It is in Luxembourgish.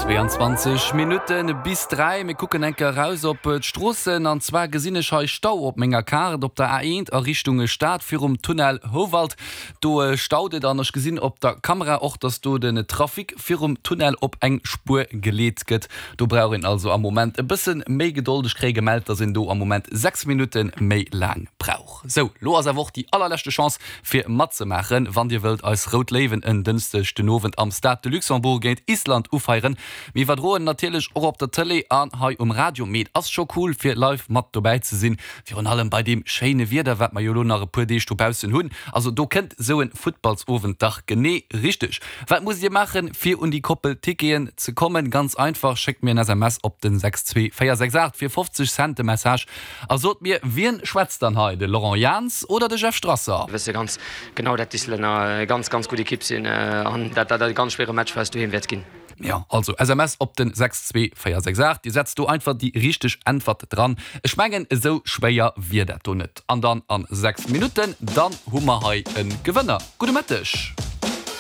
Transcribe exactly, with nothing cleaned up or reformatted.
Zwee an zwanzeg Minutte bis dräi. Mir kucken eng Kéier eraus op d'Stroossen an zwar gesinn ech hei Stau op menger Kaart op der A eent a Richtung Stad virum Tunnel Houwald. Do staut et an ech gesinn op der Kamera och, dass do den Trafic virum Tunnel op eng Spuer geleet gëtt. Do brauch een also am Moment e bësse méi Gedold. Ech kréie gemellt, dass een do am Moment sechs Minutte méi laang brauch. Sou, lo ass awer och déi allerleschte Chance fir matzemaachen, wann dir wëllt eis Rout Léiwen en Dënschdeg den Owend am Stade de Luxembourg géint Island ufeieren. Mir iwwerdroen natierlech och op der Tëlee an hei um Radio, mee et ass scho cool fir live mat dobäi ze sinn, virun allem bei deem schéine Wieder wat mer jo elo nach e puer Deeg dobaussen hunn. Also do kënnt sou en Futtballsowend dach genee richteg. Wat musst dir maachen fir un déi Koppel Ticketen ze kommen? Ganz einfach, schéckt mir en S M S op den sechs zwee véier sechs aacht fir fofzeg Cent de Message a sot mir, wien schwätzt dann hei, de Laurent Jans oder de Jeff Strasser? Mir wësse ganz genau, dat d'Islänner e ganz, ganz gutt Ekipp sinn an dat dat e ganz schwéiere Match fir eis doheem wäert ginn. Jo, also S M S op den sechs zwee véier sechs aacht, dir setzt do einfach déi richteg Äntwert dran. Ech mengen esou schwéier wier dat do net. An dann an sechs Minutten, dann hu mer hei e Gewënner. Gudde Mëtteg.